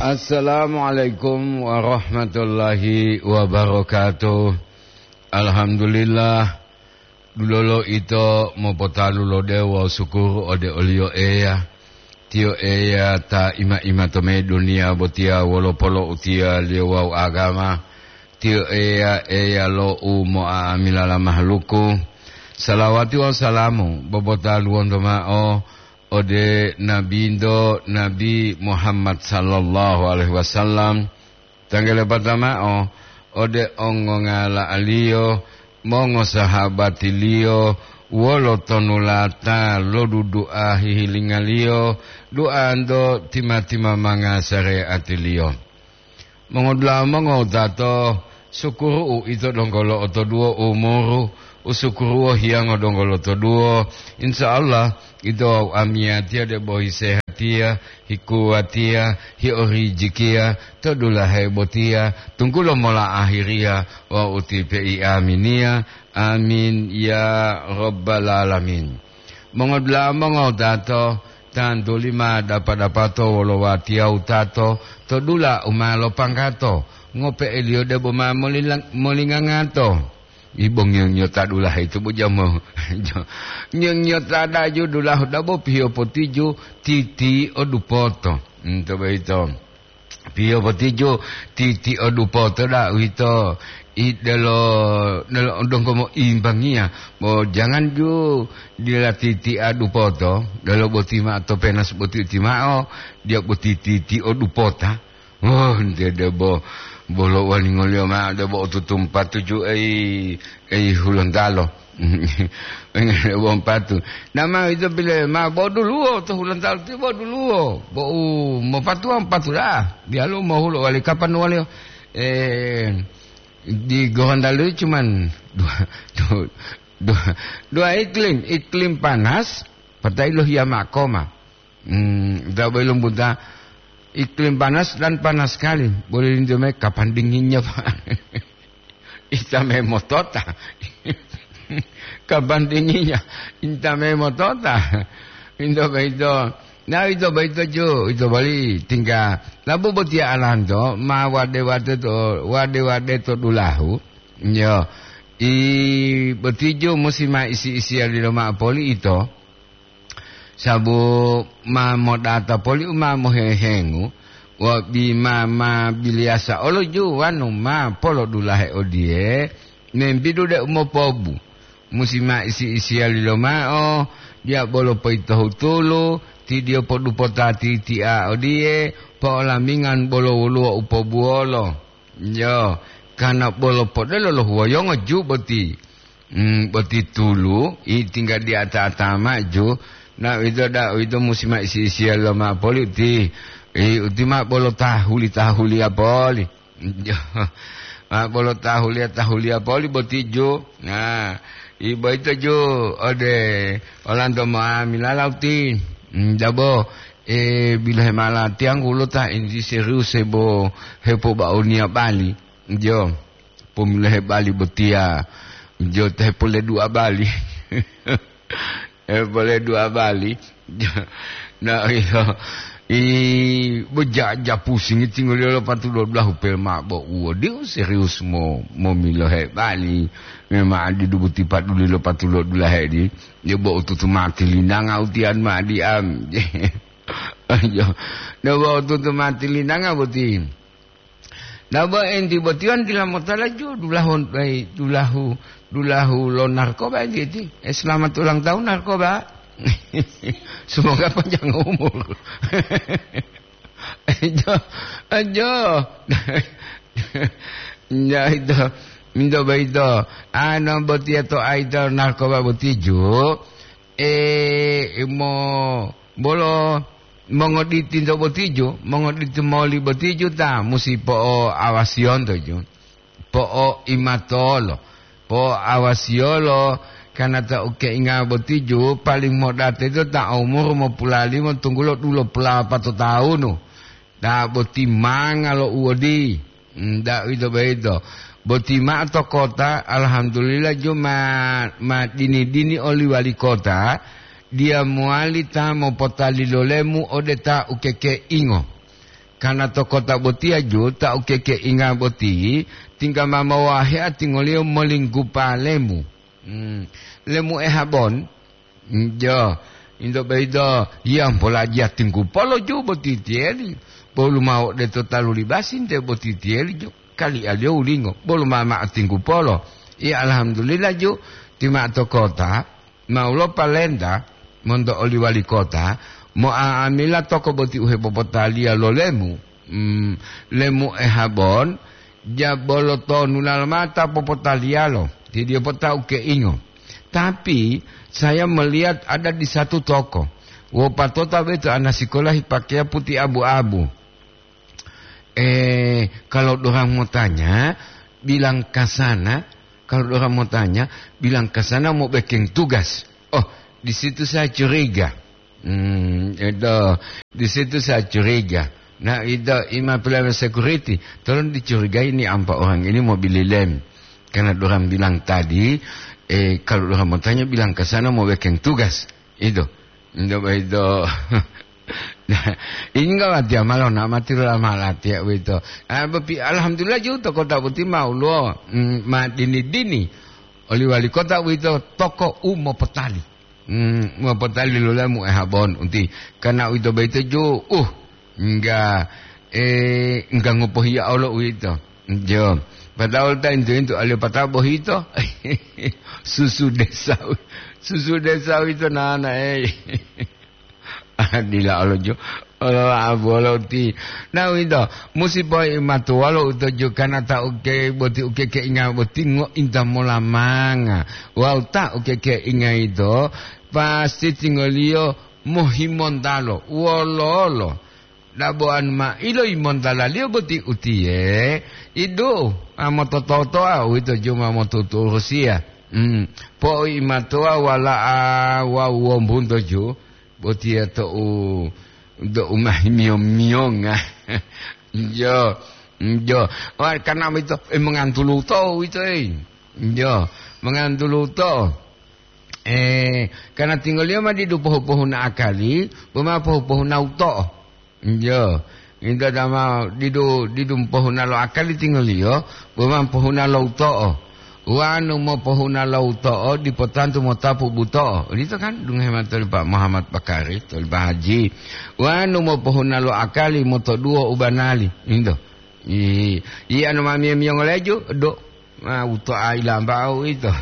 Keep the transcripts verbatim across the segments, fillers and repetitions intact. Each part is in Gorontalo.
Assalamualaikum warahmatullahi wabarakatuh. Alhamdulillah, dulolo ito mopotalu lo dewo sukuru ode oliyo Eya. Tiyo Eya ta ima-ima to me duniya botiya wolo polo'utiyaliyo wawu agama. Tiyo Eya, Eya lo u mo'amilala mahaluku. Salawati wawu salamu bobotaluwonto ma'o ode Nabinto, Nabi Muhammad sallallahu alaihi wasallam, tanggalepata ma'o ode ongongala'aliyo, mongosahabatiliyo, wolo tonulata lodudua hihilingaliyo, duanto tima-timamanga sareatiliyo. Mongodula'a mongowutato, sukuru'u ito donggo lo'otoduwo umuru, usukuruwo hiyango donggo lotoduwo. Insya Allah, ito wawu amiyatiya debo hisehatiya, hikuwatiya, hiorijikiya to dulahe botiya, tunggulo mola ahiriya wawu ti peiaminiya. Amin ya rabbal alamin. Mongodula'a mongowutato, tantuli ma dapa-dapato wolo watiya wutato to dula u ma lopanggato, ngope'eliyo debo ma molila-, molingangato. Ibo ngiyo-ngiyota dulahe itu bo jamo. Ngiyo-ngiyota daju dulahu dabo piyo potiju titi o dupoto. Hmm, to boyito. Piyo potiju titi o dupoto da uwito i delo, delo donggo moimbangiya. Bo jangan ju dila titi a dupoto, delo boti ma'o to penas boti uti ma'o, dia boti titi o dupota. Oh, nte debo bolo walingoliyo ma'o debo otutumpa tuju ei, ei Hulontalo. Wong patu. Nama ito bile ma boduluwo to Hulontalo ti boduluwo. Bo u mopatuwa patu da'a. Diyalu mohulo wali kapan wali, eh, di Gorontalo cuman dua, dua, dua, dua iklim. Iklim panas, patai lohiya makoma. Hmm, ta boyilumbuta iklim panas dan panas sekali. Boleh lintu me kapan dinginnya, Pak? Ita me motota. Kapan dinginnya? Ita me motota. Into boyito. Nah, ito boyito ju, ito boli tingga. Labu botiya alanto, ma wade-wade to, wade-wade to dulahu. Yo. I botijo musi ma isi-isiya lilo ma'o poli ito. Sabu ma modata poli u ma mohehengu, wa bima ma biliyasa olo ju wanu ma polodulahe odiye, membidu de umopobu. Musi ma isi-isiyali lomao, diya bolo poyitohutulu, ti diyo podupota titi'a odiye, po'olamingan bolo woluwo u pobuwolo. Yo, kana bolo podelo lo huwoyongo ju boti. Hmm, boti tulu, i tingga di ata-ata maju. Na uwito da, uwito musi ma isi-isiya lo ma poli uti. I uti ma bolo tahuli-tahuliya poli. Jo, ma bolo tahuliya-tahuliya poli boti ju. Nah, i boyito ju ode olanto ma milala uti. Hmm, dabo, e, bilohe mala tiyanggu lo ta enti serius hebo, hepobaoniya bali. Jo. Pomilohe bali botiya, jo, te pole dua bali. Eh, pole dua bali. Na, iyo. I, bejaja pusingi tingoliyo lo patu dua belas upel ma bo uwo. Diu serius mo, momilohe bali. Memang adi dubuti paduli lo patu dua belas hedi. Dia bo ututu mati linanga utian ma diam. Ayo. Dia bo ututu mati linanga boti. Dabo enti botiwan dila motala ju dulahu, eh, dulahu, dulahu lo narkoba enti eti. Eh, selamat ulang tahun narkoba. Semoga panjang umur. Ajo, ajo. Ya itu, minto baito. Ano botia to aito narkoba botiju. Eh, mo bolo mongoditi nto botijo, mongoditi moli botijo ta musi po'oawasiyonto ju, po'oimatolo, po'oawasiyolo, karna ta ukeinga botijo paling modate to ta umur mopulalimo tunggulo dulopulapato tawunu. Ta boti manga lo uwodi. Nda uwito boyito, boti ma'o to kota, alhamdulillah, ju ma, ma dini-dini oli wali kota, diya mowali ta mopotalilolemu ode ta ukekeingo. Kana to kota botiya ju ta ukekeinga boti, tingga ma mowahea tingoliyo molinggupa lemu. Hmm, lemu ehabon, jo, into boyito, yiyampola jiya tinggupolo ju boti tiyeli, bolu mao de to talu libasi nte boti tiyeli ju, kalialiyo wulingo, bolu ma mao tinggupolo. Iya, alhamdulillah ju, ti mao to kota, mau lopalenta monto oli wali kota, mo'a'amila toko boti u hepopotaliya lo lemu, mm, lemu ehabon, jabolo tonu lalomata popotaliyalo, tidiyo potau keingo. Tapi, saya melihat ada di satu toko, wopatota beto ana sikola hipakeya puti abu-abu. Eh, kalau dorang mau tanya, bilang ke sana. Kalau dorang mau tanya, bilang ke sana mau bikin tugas. Oh, di situ saya curiga. Hmm, itu, di situ saya curiga. Nah, itu ima pelayanan security. Tolong dicurigai ini empat orang ini mau beli lem. Karena dorang bilang tadi, eh, kalau dorang mau tanya, bilang ke sana mau bikin tugas. Itu. Itu, itu. Nah, ini enggak watiya malo, nak mati lo lama latiya uwito. Ah, bepi-, alhamdulillah ju to kota boti ma ulo, mm, ma dini-dini. Oli wali kota uwito toko u mopotali. Mm, mopotali lo lemu ehabon unti. Karena uwito boyito ju, uh, enggak, eh, enggak ngopohiya olo uwito. Jo. Padahal ta intu-intu alio patabo hito. Susu desa, susu desa uwito nana, eh. Dila olo jo, olo abu olo ti. Na uwito, musi poi matuwalo uto jo kana ta uke boti uke keinga boti ngointa molamanga. Wawu ta uke keinga ito, pasti tingoliyo mohimontalo. Wololo? Dabo'anu ma iloimontalaliyo boti utiye, idu, a motototoa uwito jo ma motuturusiya. Hmm, po'oimatoa wala'a wawu wombunto ju, botiya to'u, to'u ma himiyo-miyonga. Jo, jo. Wa, karena uwito, eh, mongantulu to uwito, eh. Jo, mongantulu to. Eh, karena tinggoliyo ma didu pohu-pohuna akali, boma pohu-pohuna uto'o. Njo, ito dama didu, didu pohuna lo akali tinggoliyo, boma pohuna lo uto'o. Wanu mopohuna lo uto'o, dipo tantu motapu buto'o. Odito kan, dungohe mao toli Pak Muhammad Bakari, toli Pak Haji. Wanu mopohuna lo akali, motoduwo u banali. Into. I, i anu ma miyo-miyo ngoleju, do. Ma uto'a ilamba'u ito.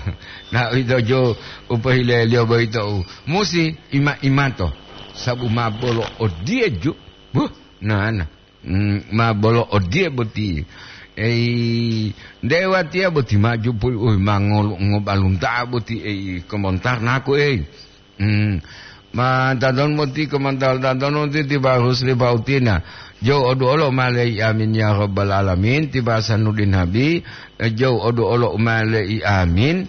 Na ito jo u pohileliyo boyito u musi ima-imato. Sabu ma bolo odiye ju. Buh, nana. Mm, ma bolo odiye boti. Ei, nde watiya boti maju puli, uy, ma ngolu-, ngobalunta'a boti, ei, komontar naku, ei. Hmm. Ma tadon moti komantal tadon moti tiba Rusli Pautina. Jou odu olo malei amin ya rabbal alamin, tiba Sanudin Nabi, eh, jou odu olo malei amin.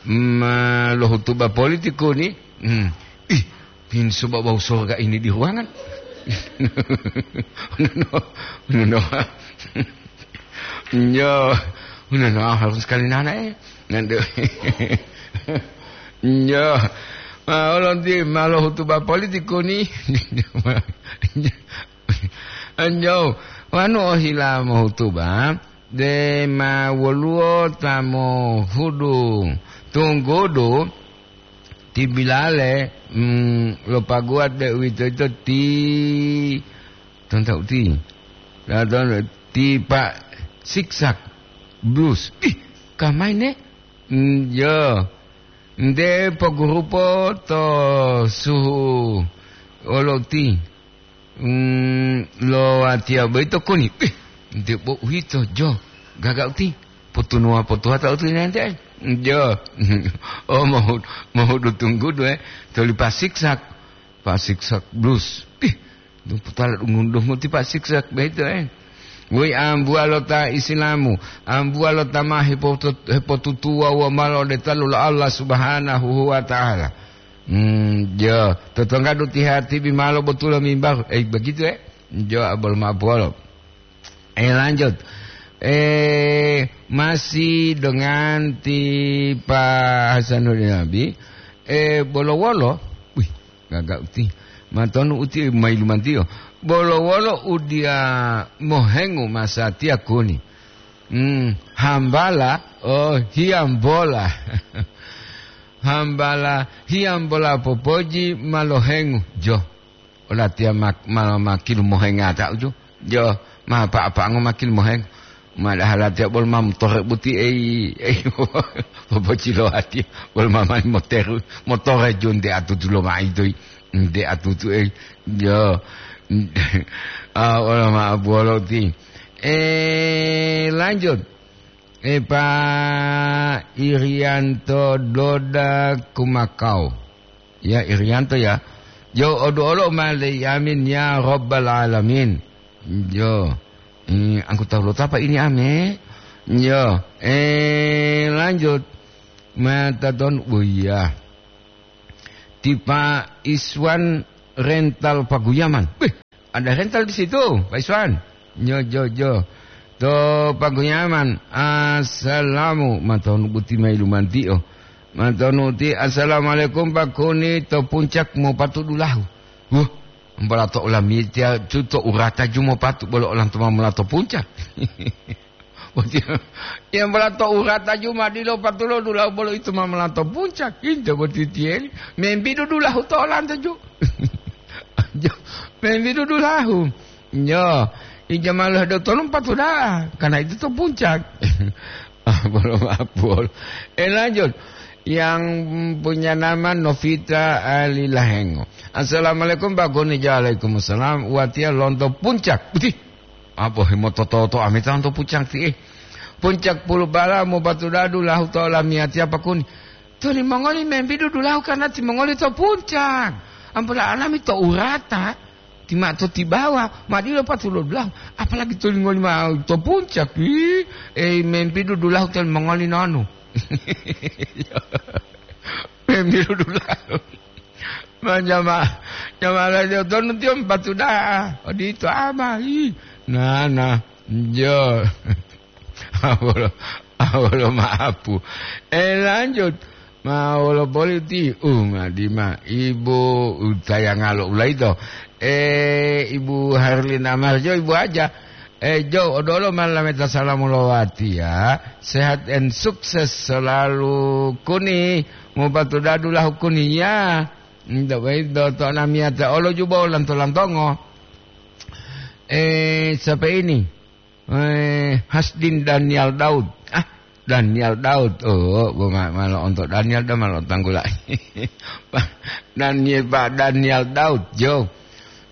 Ma lohutuba politiku ni. Hmm. Ih, pinsu bau sorga ini di ruangan. No, no, no. Nyo, udah no, harus sekali nana, eh. Nanti. Nyo. Ma, olonti malo hutuba politiku ni. Nyo. Wanu ohila mohutuba, de ma woluwo ta mohudu tunggudu, ti bilale, mm, lo paguwa de uwitoyito ti, tonta uti. Ti Pak Siksak Blues. Ih, kamai ne? Mm, yo. Nde pogurupo to suhu olo uti. Mm, lo watiya boyito koni. Ih, nde bo uwito jo. Gaga uti. Potunuwa potuwata uti nente. Jo. Oh, mohu-, mohudu tunggudu, eh. Toli Pak Siksak. Pak Siksak Blues. Ih, duputala dungun-dungun ti Pak Siksak beto, eh. Woi ambuwa lo ta Isilamu, ambuwa lo ta ma hepotu-, hepotutuwa wo malo de talu lo Allah Subhanahu wa Ta'ala. Hmm, jo, totonggadu ti hatibi malo botulo mimbaru. Eh, begitu, eh. Jo, abol mapolo. Eh, lanjut. Eh, masih dengan ti Pak Hasanuddin Nabi. Eh, bolo-wolo. Wih, gaga uti. Matonu uti ma yilumantiyo. Bolo wolo udiya mohengu masatiya kuni. Hmm, hambala, oh, hiyambola. Hambala hiyambola popoji ma lohengu. Jo, olatiya ma, ma, makilu mohengata uju. Jo, ma apa-apango makilu mohengu. Madahala tiya bolo ma motore buti ei, ei, popocilowati, bolo ma mani moteru, motore jo nde atutu lo maitoi, nde atutu ei, jo. Ah, wala ma abuwolo ti. Eh, lanjut. Eh, Pak Irianto Doda Kumakau. Ya, Irianto ya. Jo, odu olo ma le amin ya Rabbal Alamin. Jo. Eh, anggota lo tapa ini ame? Yo, eh, lanjut. Mata ton, oh iya. Tipa Iswan rental Paguyaman. Wih, ada rental di situ, Pak Iswan. Yo, jo, jo. To Paguyaman, assalamu, matonu buti mai lumantio. Matonu ti, assalamualaikum Pak Kuni, to puncak mau patudulahu. Wuh, Ambola to olamiyatiya ju to urata ju mopatu bolo olanto ma mola to puncak. Boti, ya, ambola to urata ju ma dilo patulo dulahu bolo ito ma mola to puncak. Into boti tiyeli. Membidu dulahu to olanto ju. Jo, membidu dulahu. Yo, ija malah do tolong patu da'a, karena itu to puncak. Ah, bolo mapol. Eh, lanjut. Yang punya nama Novita Ali Lahengo. Assalamualaikum, Pak Goni. Waalaikumsalam. Watiya lonto puncak. Putih. Apa himoto-toto amita lonto puncak ti, eh. Puncak Pulubala mo batu dadu lahu to lamiyati apa kuni. To limongoli membidu dulahu karena timongoli to puncak. Ampola alami to urata. Ti ma to tibawa, ma dilo patulo dulahu, apalagi to lingoli ma to puncak, ih, ei, membidu dulahu to limongoli nonu. Membidu dulahu. Ma jama-, jama la jo tonu tiyo patu da'a. Odito ama, ih. Nah, nah. Jo. Awolo, awolo maapu. Eh, lanjut. Ma wolo boli ti, uh, madima. Ibu utayanga lo ulaito. Eh, Ibu Harlina Marjo, Ibu Aja. Eh, Jo, odolo malameta salamu lowati ya. Sehat and sukses selalu kuni. Mupatu dadu lahu kuni ya. Ndak baik do to namiyata olo juba lanto-lantongo. Eh, siapa ini? Eh, Hasdin Daniel Daud. Ah, Daniel Daud. Oh, bo ma-, malo onto Daniel da malo tanggula. Daniel, Pak Daniel Daud, jo.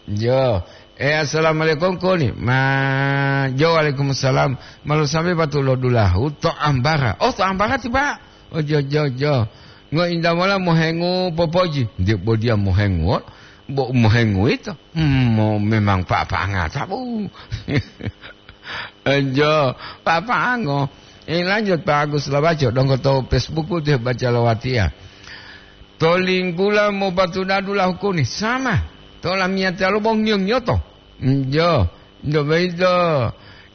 Jo. Eh, assalamualaikum koni. Ma, jo, waalaikumsalam. Malo sampai batu lo dulahu to Ambara. Oh, to Ambara ti, Pak. Oh, jo, jo, jo. Ngo inda mola mohengu popoji. Dia bo dia mohengu. Bo mohengu itu. Hmm, mo-, memang pa-, pangata, Bu. Enjo, papango. Eh, lanjut, Pak Agus Labaco, donggo to Facebook putih baca lawatiya. To linggula mo batu dadu lahukuni, sama. To lamiyatiya lo bong ngiyo-ngiyoto. Enjo, ndo boyito.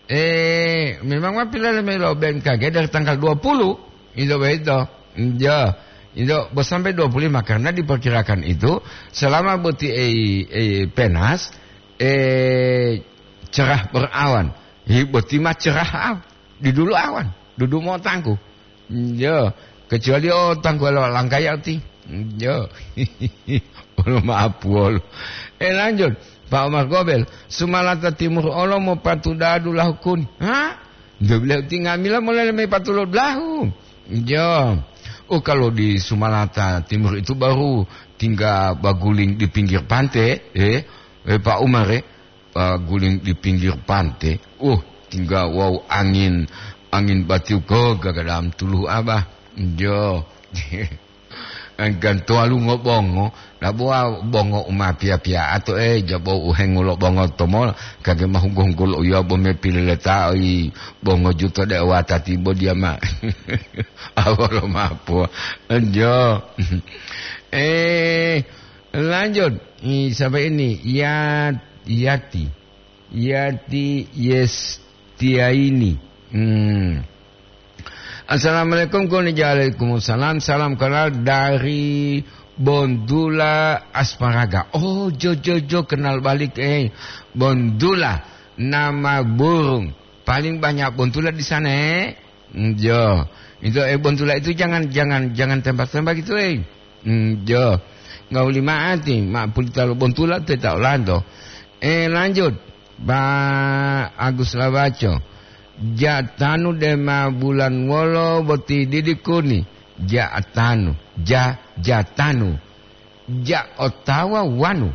Eh, memang ma pilele melo B M K G dari tanggal dua puluh. Ito boyito. Enjo. Ito bo sampai dua puluh lima, karena diperkirakan itu selama boti, eh, eh, penas, eh, cerah berawan. Hi, boti ma cerah aw-, di dulu awan, dudu mo tangku. Yo, kecuali o tangku lo langkaya ti. Yo. Olo maaf wolo. Eh, lanjut. Pak Omar Gobel, Sumalata Timur olo mo patu dadu lahukuni. Ha? Dua belas ti ngamila mulai leme patu lo dulahu. Yo. Oh, kalau di Sumalata Timur itu baru tinggal baguling di pinggir pantai, eh, eh, Pak Umar, eh. Paguling di pinggir pante. Uh, tingga wawu angin, angin batiu ko gagadam tuluhu abah. Jo. Angkan toalu ngobongo, labuwa bongo uma pia-pia ato, eh, jabo uhengulo bongo tomola, kage mahunggo-hunggulo uya bo me pilileta i bongo juto de watati bo diama. Awolo mapo. Jo. Eh, Lanjut, i, siapa ini? Ya-, Yati. Yati Yestiaini. Hmm. Assalamualaikum, kuni waalaikumsalam. Salam kenal dari Bontula Asparaga. Oh, jo, jo, jo, kenal balik, eh. Bontula, nama burung. Paling banyak bontula di sana, eh. Mm, jo. Itu, eh, bontula itu jangan, jangan, jangan tembak-tembak itu, eh. Mm, jo. Nggak ulima ati, ma pulita lo bontula, teta olanto. Eh, lanjut. Ba Agus Lawaco. Ja tanu dema bulan wolo boti didi kuni. Ja tanu. Ja, ja tanu. Ja otawa wanu.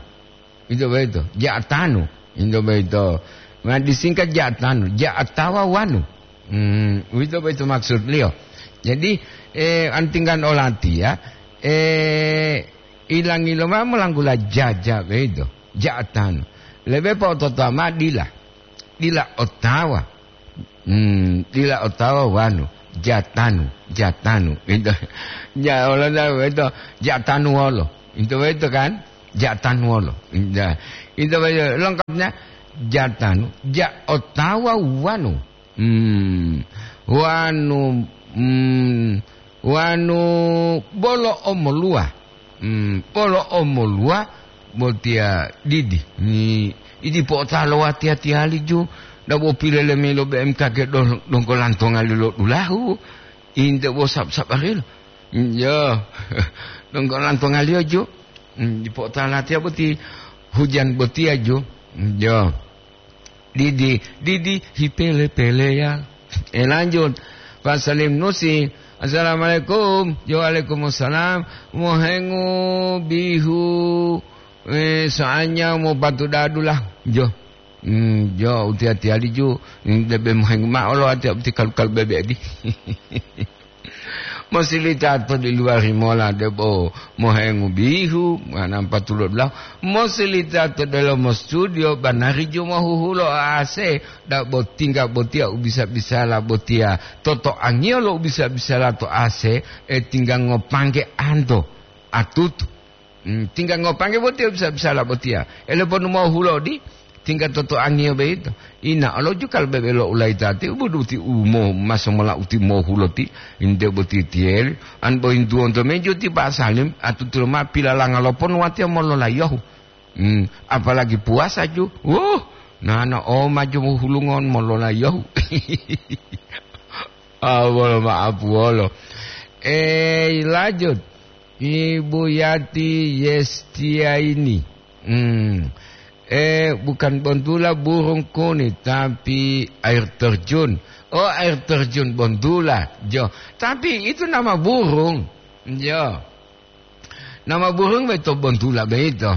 Ito boyito. Ja tanu. Ito boyito. Ma disingkat ja tanu. Ja otawa wanu. Hmm, uwito boyito maksudliyo. Jadi, eh, antinggan olati ya. Eh, ilangi loma molanggula jaja boyito. Ja tanu. Lebe po'ototowa ma dila. Dila otawa. Hmm, dila otawa wanu. Ja tanu, ja tanu. Ito. Ja, olonda, ito. Ja tanu wolo. Ito, ito kan? Ja tanu wolo. Ja. Ito, ito. Lengkapnya, ja tanu. Ja otawa wanu. Hmm. Wanu, hmm, wanu bolo omoluwa. Hmm, bolo omoluwa botiya didi. Ni, idi po'otalo watiya-tiyali ju, dabo pilele milo B M K G dong-, donggo lantongali lo dulahu. Inte bo sab-, sabarilo. Yo, donggo lantongaliyo ju. Hmm, di po'otalo watiya boti hujan botiya ju. Yo. Didi, didi, hipele-peleya. Eh, lanjut. Pak Salim Nusi, "Assalamualaikum." Jo, "Waalaikumsalam." Mohengu bihu, eh, soalnya mau bantu dadu lah. Jo. Hmm, jo, uti-ati ali ju. Hmm, debe mohengu ma'o lo ati, ati kalu-kalu bebe di. Mosilita to di luwari mola debo mohengu bihu, manampa tulo dulahu. Mosilita to delomo studio, banari ju mohuhulo A C, dabo tingga botiya u bisa-bisala botiya. Toto angiyo lo u bisa-bisala to A C, e tingga ngopangge anto, atutu. Hmm, tingga ngopangge botiya bisa-bisala botiya. Ele ponu mohulodi, tingga totoangiyo boyito. Ina olo jukal bebe lo ulayitati, ubuduti umo maso mola uti mohuloti, inde boti tiyeli. An boyintuwonto mejo ti Pak Salim, atutulo ma pilalanga lo ponu watiya mololayohu. Hmm, apalagi puwasa ju. Wuh, nana o maju mohulungon mololayohu. Ah, wolo ma'apu wolo. Eh, lanjut. Ibu Yati Yestiaini. Hmm. Eh, bukan bontula burung kuni, tapi air terjun. Oh, air terjun bontula. Jo. Tapi itu nama burung. Jo. Nama burung beto bontula beito.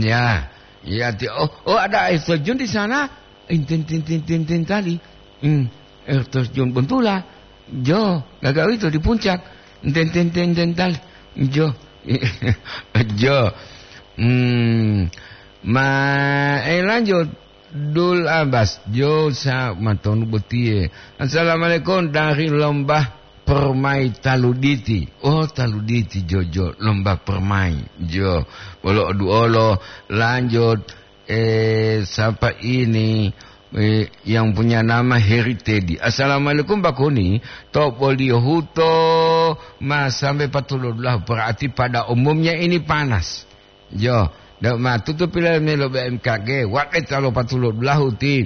Ya. Ya, ti-, oh, oh, ada air terjun di sana. Intin, tin, tin, tin, tin tali. Hmm, air terjun bontula. Jo, gaga itu di puncak. Intin, tin, tin, tin tali. Jo. Jo. Hmm. Ma, eh, lanjut. Dul Abbas, jo sa matonu botiye. Assalamualaikum, dari Lombah Permai Taluditi. Oh, Taluditi, jo, jo, Lombah Permai. Jo, bolo oduolo, lanjut, eh, siapa ini, eh, yang punya nama Heri Teddy. Assalamualaikum, Pak Koni. To boliyo huto, ma sampai patulodlah, berarti pada umumnya ini panas. Jo, deu ma tutu pilemilo B M K G, wae talo patulo dulahu ti.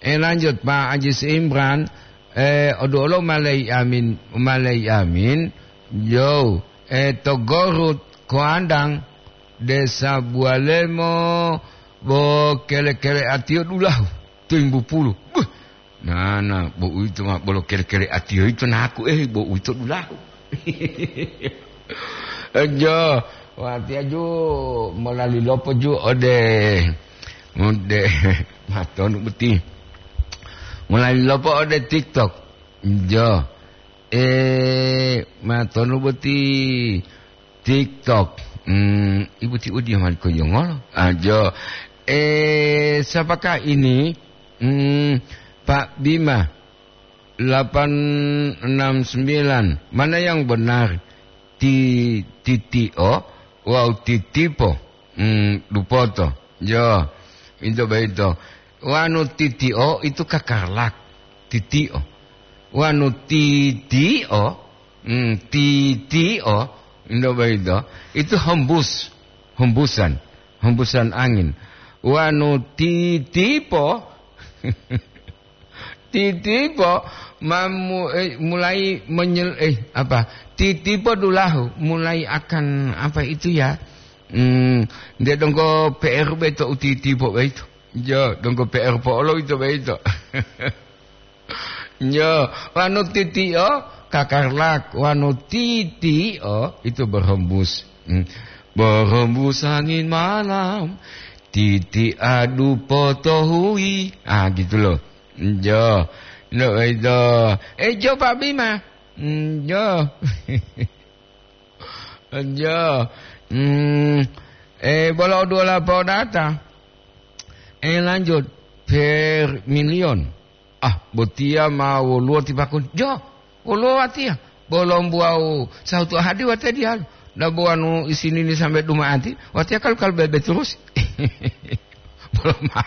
Eh, lanjut, Pak Ajis Imran, eh, oduolo malei amin, malei amin. Jo, eh, to Gorut, Koandang, Desa Bualemo, bo kele-kele atiyo dulahu, to Imbu Pulu. Buh, Nana, bo uwito ma bolo kele-kele atiyo yito naku, eh, bo uwito dulahu. Jo, watiya ju molali lopo ju ode, ode, matonu boti. Molali lopo ode TikTok. Jo. Eh, matonu boti. TikTok. Hmm, ibu ti udi mali ko yongolo. Ajo. Eh, siapakah ini? Hmm, Pak Bima, delapan enam sembilan. Mana yang benar? Ti-, titio, wau titipo. Hmm, dupoto. Jo, itu begitu. Wanu titio itu kakarlak. Titio. Wanu titio, hmm, titio, Ndo boyito, itu hembus, hembusan, hembusan angin. Wanu titipo, titipo mamu, eh, mulai menyel, eh, apa? Titipo dulahu mulai akan apa itu ya? Hmm, dia donggo P R beto utitipo beito. Jo, donggo P R po olo itu beito. Yo, wanu titio kakarlak, wanu titio itu berhembus. Hmm. Berhembus angin malam, titi adu potohui. Ah, gitu loh. Yo, no itu. Eh, jo Pak Bima. Hmm, yo. Yo. Hmm. Eh, bola dua lapau data. Eh, lanjut. Per milion. Ah, botiya ma woluwo ti pakun. Jo, woluwo watiya. Bolombu wawu sahutu ahadi watiya diyalu. Dabo wanu isinini sambe duma'ati, watiya kalu-kalu bebe turus. Bolo ma